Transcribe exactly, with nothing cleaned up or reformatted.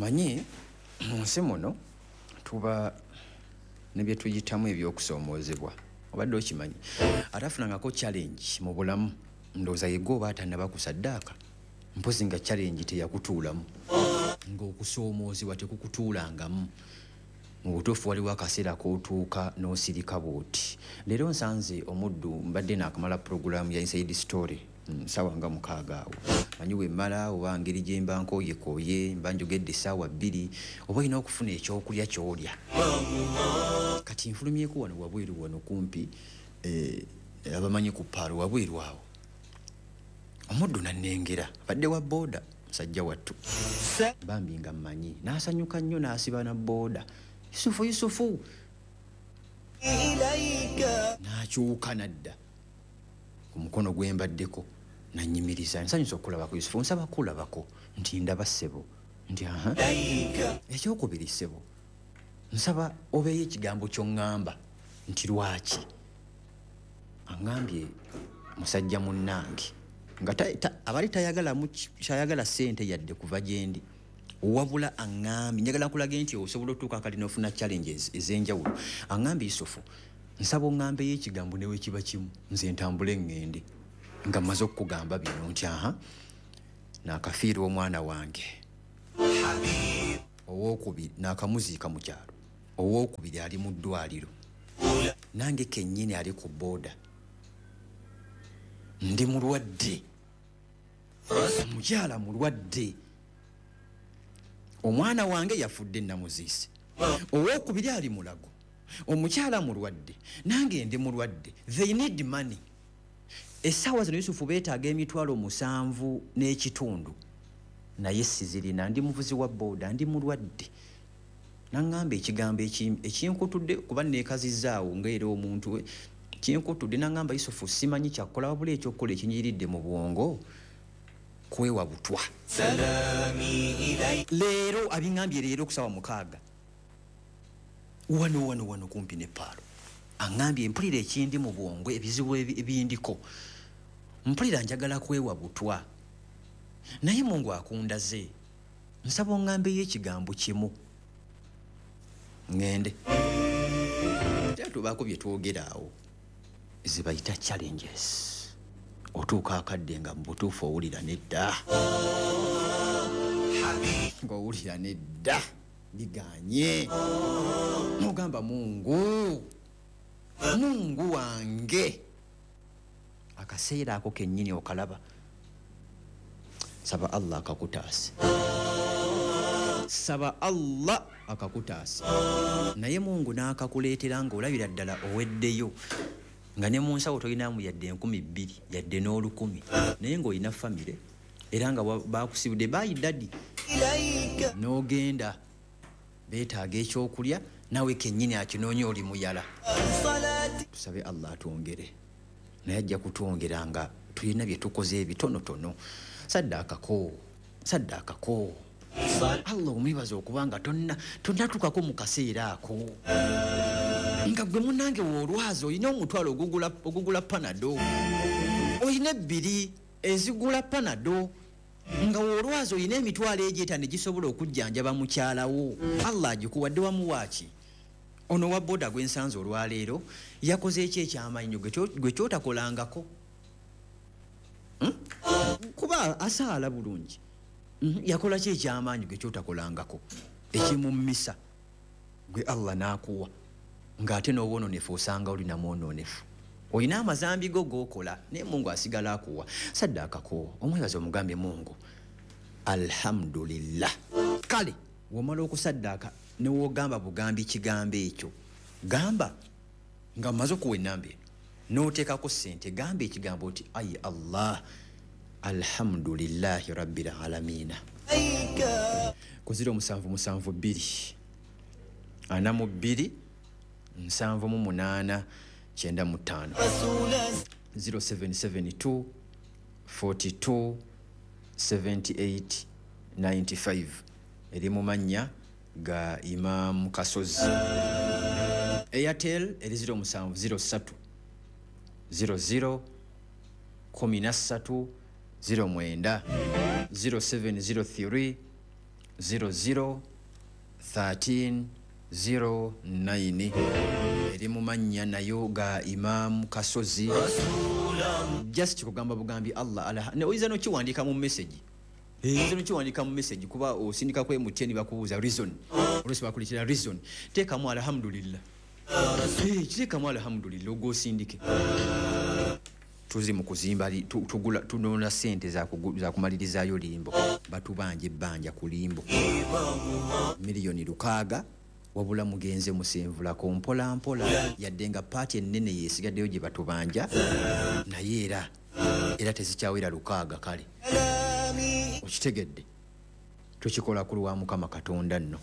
Omanyi mu nsi muno tuba ne bye tuyitamu ebyokusoomoozebwa, obadde okimanyi atafunangako challenge mu bulamu, ndowooza yegwe oba atannaba kusaddaaka, mpozi nga challenge teyakutuulamu, ng'okusoomoozebwa tekukutuulangamu. Mu butuufu waliwo akaseera k'otuuka n'osirika bw'oti. Leero nsanze omuddu, mbadde naakamala pulogulaamu ya Inside Story ssaawa nga mukaaga awo, manyi wemmala oba ngeri gye mba nkooyekooye, mba njogedde essaawa bbiri, oba olina okufuna ekyokulya ky'olya. Kati nfulumyeko wano wabweru wano kumpi, eh, abamanyi ku paalo wabweru awo, omuddu nannengera, abadde wa booda musajja wattu bambi nga mmanyi, n'asanyuka nnyo n'asiba na booda, Yusufu Yusufu, n'akyuka n'adda ku mukono gwe mbaddeko nannyimiriza, nsanyusa okulabako Yusufu, nsaba kulabako nti ndaba ssebo, nti aha. Ekyokubiri ssebo, nsaba obeeyo ekigambo ky'oŋŋamba nti lwaki aŋŋambye musajja munnange nga abali tayagala kyayagala ssente yadde kuva gye ndi, wabula aŋŋambye njagala nkulage nti osobola otuuka akali n'ofuna challenges ez'enjawulo. Aŋŋambye Yusufu, nsaba oŋŋambeyo ekigambo ne wekiba kimu nze ntambule ŋŋende nga mmaze okukugamba bino nti aha, naakafiirwa omwana wange owookubiri, naakamuziika mu kyalo, owookubiri ali mu ddwaliro, nange kennyini ali ku booda, ndi mulwadde, omukyala mulwadde, omwana wange yafudde namuziise, owookubiri ali mulago, omukyala mulwadde, nange ndi mulwadde, they need money. Essaawa zino Yusufu beetaaga emitwalo musanvu n'ekitundu, naye sizirina, ndi muvuzi wa booda, ndi mulwadde. Naŋŋamba ekigambo ekinkutudde kuba neekazizzaawo ng'era omuntu kinkutudde, naŋŋamba Yusufu simanyi kyakukola wabula ekyokukola ekinyiridde mu bwongo kwewa butwa. Leero abiŋŋambye leero ku ssaawa mukaaga wano wano wano kumpi ne paalo, aŋŋambye mpulira ekindi mu bwongo, ebizibu ebindiko, mpulira njagala kwewa butwa, naye Mungu akundaze, nsaba oŋŋambeyo ekigambo kimu ŋŋende. Era tubaako bye twogera awo ze bayita challenges, otuuka akadde nga mu butuufu owulira nedda, ng'owulira nedda biganye, n'ogamba Mungu, Mungu wange. Akaseera ako kennyini okalaba, saba Allah akakutaase, saba Allah akakutaase, naye Mungu n'akakuleetera ng'olabira ddala oweddeyo, nga ne mu nsawo tolinamu yadde enkumi bbiri yadde n'olukumi, naye ng'olina famire era nga bakusibudde bayi daddy, n'ogenda beetaaga ekyokulya nawe kennyini akinoonya oli muyala. Tusabe Allah atwongere, naye ajja kutwongera nga tulina bye tukoze ebitonotono. Saddaakako, saddaakako Allah omwebaza okuba nga tonnatuukako mu kaseera ako, nga gwe munnange w'olwazi olina omutwalo ogugula ogugula panado, olina ebbiri ezigula panado, nga w'olwazi olina emitwalo egyo etaano egisobola okujjanjaba mukyalawo. Allah agikuwadde wamuwaaki? Ono wa booda gwe nsanze olwaleero yakoze eki ekyamaanyi gwe kyotakolangako, kuba asaala bulungi, yakola ki ekyamaanyi gwe kyotakolangako ekimummisa gwe Allah n'akuwa, ng'ate n'obwononefu osanga oli namwonoonefu, olina amazambi go g'okola naye Mungu asigala akuwa. Saddaakako omwebaza omugambye Mungu alhamdulillah. Kale womala okusaddaaka ne wogamba bugambi kigambo ekyo, gamba nga mmaze okuwa ennamba eno n'oteekako ssente, gamba ekigambo nti ayi Allah alhamdulillahi rabbil alamiina. Ku ziro musanvu musanvu bbiri ana mu bbiri nsanvu mu munaana kyenda mu ttaano, zero seven seven two forty-two seventy-eight ninety-five, eri mu mannya ga Imam Kasozi. Airtel eri ziro musanvu ziro ssatu ziro ziro kumi na ssatu ziro mwenda, zero seven zero three zero zero thirteen zero nine, eri mu mannya nayo ga Imaamu Kasozi. Just kugamba bugambi Allah alaha, oyinza nokiwandiika mu message, oyinza nokiwandiika mu message, kuba osindika ku M T N bakubuuza reason, oluusi bakuleetera reason, teekamu alhamdulillah. Eh, kiteekamu alhamdulillah ogwosindike. Tuzi mu kuzimba li- tu- tugula tunona sente za kugu- za kumalirizaayo limbo. Batubanja ebbanja ku limbo miliyoni lukaaga, wabula mugenze musenvulako mpola mpola, yadde nga part ennene yesigaddeyo gye batubanja, naye era era tezikyawera lukaaga. Kale okitegedde, tukikola ku lwa Mukama Katonda nno.